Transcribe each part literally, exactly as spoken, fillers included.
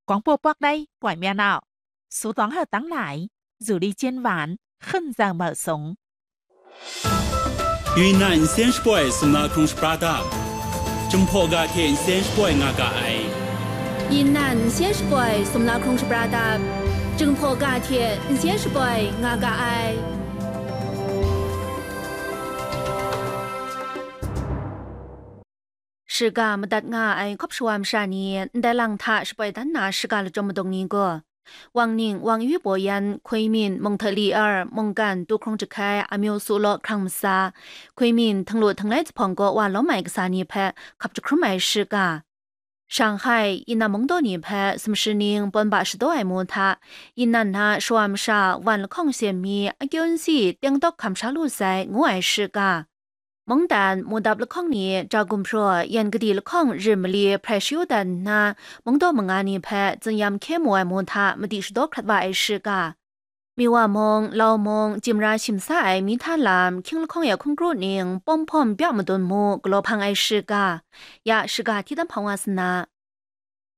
广播 Pakrai ပွင့်မြတ်အောင် စုတောင်းဟတ်တန်းလိုက် ဇူလီကျင်းဝန် ခင်းဆောင်မတ်ဆုံး Yunnan Nsen Shapoi Sumla Hkrung Shapra Dap, Jinghpaw ga hte Nsen Shapoi nga ga ai. Yunnan Nsen Shapoi Sumla Hkrung Shapra Dap, Jinghpaw ga hte Nsen Shapoi nga ga ai. Shiga madat nga ai hkawp shawa masha ni ndai lang hta shapoi dan na shiga lachyum madung ni gaw, Wang Ning, Wang Yu Bo Yan, Hkui Min, Mung Hta Li Ar, Mungkan, Tu Hkrung Jahkai, Amyu Su Law Hkrang Masa, Hkui Min, Htanglu Htang Lai Zahpawng kaw wa lawm ai kasa ni hpe hkap jahkrum ai shiga. Shanghai, Yinnan mungdaw ni hpe sumshi ning pawn ba shadaw ai mu hta, Yinnan na shawa masha wan lahkawng shem mi akyu nsi tengdawk hkam sha lu sai, ngu ai shiga. Mungdan, mudap lahkawng ni ja gumhpraw yan kadi lahkawng rim mali hprai shayu dan nna, mungdaw manga ni hpe tsinyam hkye mu ai mu hta madi shadaw hkrat wa ai shiga. Miwa mung, Lau mung, Jimra shim sa ai mi hta lam, hkying lahkawng ya hkungkru ning, pawm hpawm byak madun mu galaw hpang ai shiga. Ya shiga hti dan hpang wa sa na.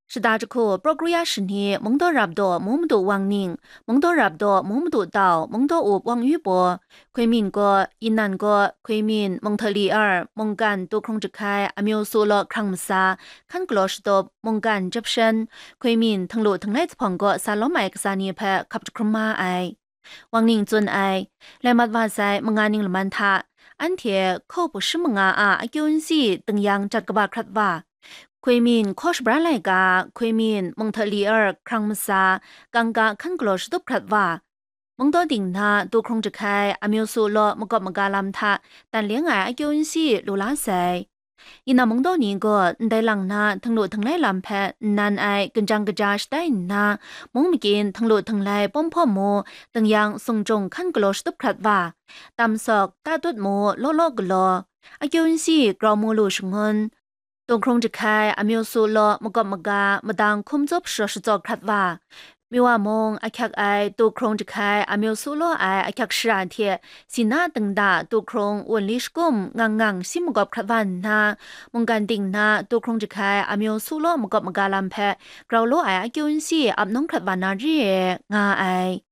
Shada jahku, Praw Kru Ya Shani, Mungdaw Rap Daw, Mu Madu Wang Ning, Mungdaw Rap Daw, Mu Madu Tau, Mungdaw Up Wang Yu Bo, Hkui Min gaw, Yinnan gaw, Hkui Min, Mung Hta Li Ar, Mungkan, Tu Hkrung Jahkai, Amyu Su Law Hkrang Masa, Hkan Galaw Shatup, Mungkan Jep Shan, Hkui Min, Htanglu Htang Lai Zahpawng kaw sa lawm ai kasa ni hpe hkap jahkrum ma ai. Wang Ning tsun ai, lai mat wa sai manga ning laman hta, anhte hkaw bu shi manga a akyu nsi tingyang jat kaba hkrat wa, Hkui Min hkaw shabra laika, Hkui Min, Mung Hta Li Ar, Hkrang Masa, Kangka Hkan Galaw Shatup hkrat wa, Mungdaw Ding na Tu Hkrung Jahkai, Amyu Su Law makawp maga lam hta tan leng ai akyu nsi lu la sai. Yinnan mungdaw ni gaw ndai lang na Htanglu Htang Lai lam hpe nnan ai ginjang kaja shatai nna, mung makyin Htanglu Htang Lai pawm hpawm mu, tingyang sung jung hkan galaw shatup hkrat wa, tam sawk, ta tut mu, law law galaw, akyu nsi grau mu lu shangun, Tu Hkrung Jahkai, Amyu Su Law makawp maga, madang hkum tsup sharaw shatsawk hkrat wa, Miwa mung ahkyak ai Tu Hkrung Jahkai, Amyu Su Law ai ahkyak shara hte, Sina Dingda Tu Hkrung, Wunli Shakum, Ngang Ngang shi makawp hkrat wa nna, Mungkan Ding na Tu Hkrung Jahkai, Amyu Su Law makawp maga lam hpe grau law ai akyu nsi ap nung hkrat wa na re ai, nga ai.